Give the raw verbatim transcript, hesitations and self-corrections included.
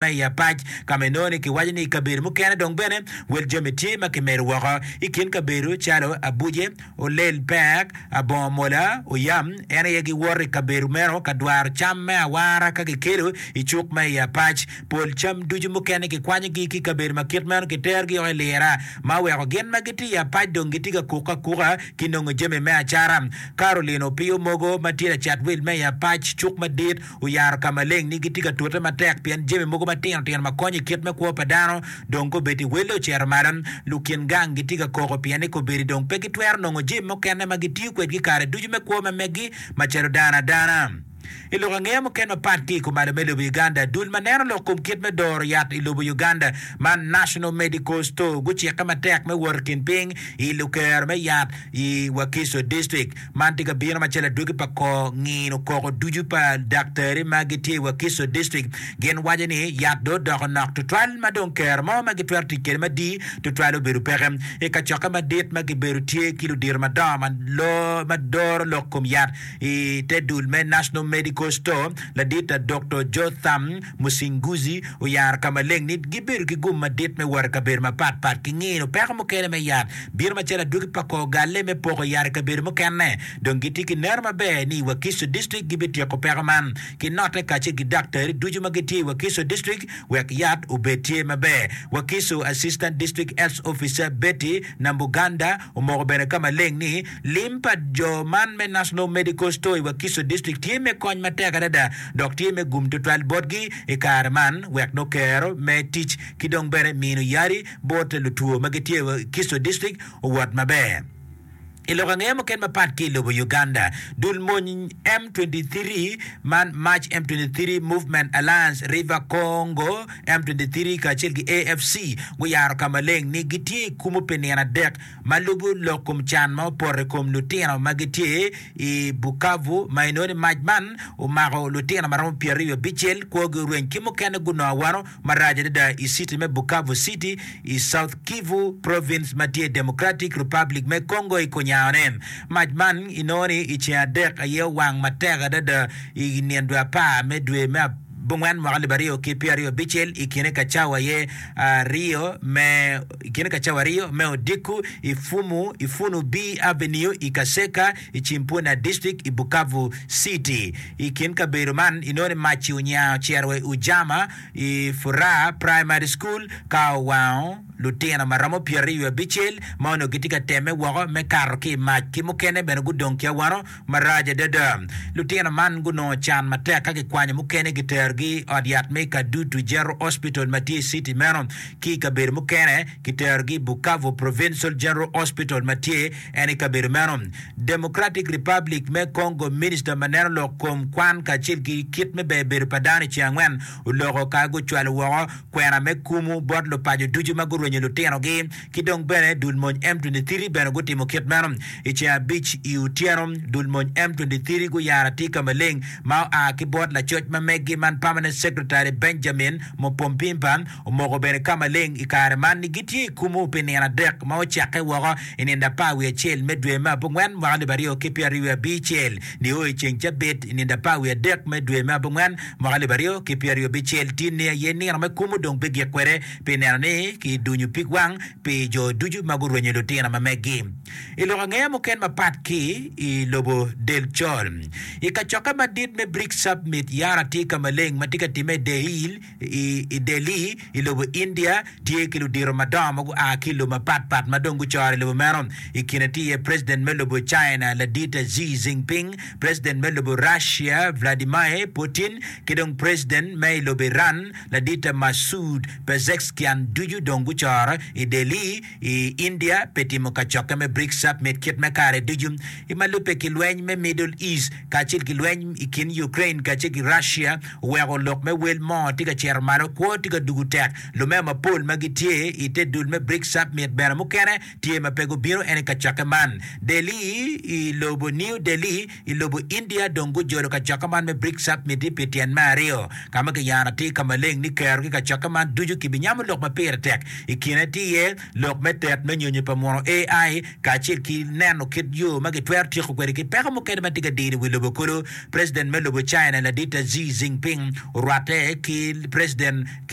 Ma i apac ka ma inongo ni kiwaco ni i kabedo mukene dong bene wel jami tye ma kimedo woko i kin kabedo calo Abuce, Olel Pek, Abongo Mola, Oyam en aye giwoto i kabedo meno ka dwaro cam me awara ka kikelo i cuk ma i apac. Pol cam ducu mukene kikwanyogi ki i kabedo ma kit meno kiterogi woko i lira ma oweko gin ma gitye i apac dong gitye ka kukke akuka ki nongo jami me acara. Caroline Opiyo Mogo ma tye lacat wil me i apac cuk madit oyaro ka maleng ni gitye ka tute matek pien jami mogo matino tino ma konyo i kit me kwo pa dano dong kobedi welle ocito malo. Lukin gang gitye ka koko pien ni kobedi dong pe gitwero nongo jami mukene ma gitiyo kwedgi kare ducu me kwo ma meggi macalo dano adana. I lok angeya mukene mapat ki i kumalo me lobo Uganda, dul ma neno lok kom kit me doro yat i lobo Uganda man National Medical Store gucikke matek me wot i kin piny i lukero me yat i Wakiso District. Man tye ka bino macalo adwogi pa kor ngino koko ducu pa daktari ma gitye i Wakiso District. Gin waco ni yat dong odoko nok tutwal ma dong kero mo ma gitwero tic kwede madii tutwal obedo peke. I kacokke madit ma gibedo tye ki ludito madongo ma doro lok kom yat i te dul me National Medical Store, ladit Doktor Jotham Musinguzi oyaro ka maleng ni gibedo ki gum madit me wot i kabedo mapat pat ki ngino peko mukene me yat bino macalo adwogi pa kor galle me poko yat i kabedo mukene. Dong gitye ki neno maber ni i Wakiso District gibityeko peko man ki note kacel ki daktari ducu ma gitye i Wakiso District wek yat obed tye maber. Wakiso Assistant District Health Officer Betty Nambuganda omoko bene ka maleng ni lim pa jo man me National Medical Store i Wakiso District tye me kony matek adada dok tye me gum tutwal botgi i kare man wek nongo kero me tic ki dong bene mino yadi bot lutwo ma gitye i Wakiso District owot maber. I lok angeya mukene mapat ki i lobo Uganda, dul mony M twenty three man March M twenty three Movement Alliance River Congo M twenty three kacel ki A F C guyaro ka maleng ni gitye i kumo pi nino adek ma lubo lok kom can ma opoto i kom lutino ma gitye i Bukavu ma inongo ni mac man omako lutino ma romo pyeraryo abicel kwogi orweny ki mukene gunongo awano marac adada i citi me Bukavu City i South Kivu Province ma tye i Democratic Republic me Congo i kunyangone. Mac man inongo ni i ceng adek aye owang matek adada i nino dwe apar me dwe me abongwen mwaka alip aryo ki pyeraryo abicel i kine ka cawa aye aryo me i kine ka cawa aryo me odiko i Fumu i Funu B Avenue i Kaseka i Cimpuna District i Bukavu City. I kin kabedo man inongo ni mac-ci onyango ocito wa i Ujama i Furaha Primary School ka owango lutino ma romo pyeraryo wiye abicel ma onongo gitye ka temme woko me kato ki i mac ki mukene bene gudong ki awano marac adada. Lutino man gunongo can matek ka kikwanyo mukene kiterogi i ot yat me Kadutu General Hospital ma tye i citi meno ki i kabedo mukene kiterogi i Bukavu Provincial General Hospital ma tye en i kabedo meno. Democratic Republic me Congo Minista ma neno lok kom kwan kacel ki kit me ber bedo pa dano i ceng angwen oloko ka gucwalo woko kwena me kumu bot lupaco ducu ma gurwenyo lutinogi ki dong bene dul mony M twenty three bene gutimo kit meno. I ceng abic i otyeno dul mony M twenty three guyaro atir ka maleng ma oa ki bot lacoc ma meggi man Permanent Secretary Benjamin Mopompimpa omoko bene ka maleng i kare man ni gitye i kumu pi nino adek ma ocakke woko i nindo apar wiye acel me dwe me abongwen mwaka alip aryo ki pyeraryo wiye abicel nio i ceng cabit i nindo apar wiye adek me dwe me abongwen mwaka alip aryo ki pyeraryo abicel. Tin-ni aye nino me kumu dong bigik kwede pi neno ni kidunyo pig wang pi jo ducu ma gurwenyo lutino ma meggi. I lok angeya mukene mapat ki i lobo del col, i kacokke madit me BRICS Summit yara tye ka maleng ma tye ka timme i Delhi, I Delhi, i lobo India, tye ki ludito madongo ma gua ki i lobo mapatpat ma dong gucore i lobo meno. I kine tye iye President me lobo China, Ladit Xi Jinping, President me lobo Russia, Vladimir Putin, ki dong President me i lobo Iran, Ladit Masoud Pezeshkian ducu dong gucore i Delhi, i India pi timo kacokke me BRICS Summit kit me kare ducu. I ma lubbe ki lweny me Middle East kacel ki lweny i kin Ukraine kacel ki Russia oweko lok me wel moo tye ka cito malo, kwo tye ka dugo tek. Lumeo mapol ma gitye i te dul me BRICS Summit bene mukene tye ma pe gubino en i kacokke man. Delhi i lobo New Delhi i lobo India dong gujolo kacokke man me BRICS Summit-ti pi tyen me aryo, ka ma kiyano atir ka maleng ni kero ki kacokke man ducu kibinyamo lok ma pire tek i kine tye iye lok me tet me nyonyo pa muno A I kacel ki neno kit yo ma gitwero tyeko kwede ki peko mukene ma tye ka diro i wi lobo kulu. President me lobo China, ladit Xi Jinping, orwatte ki president ki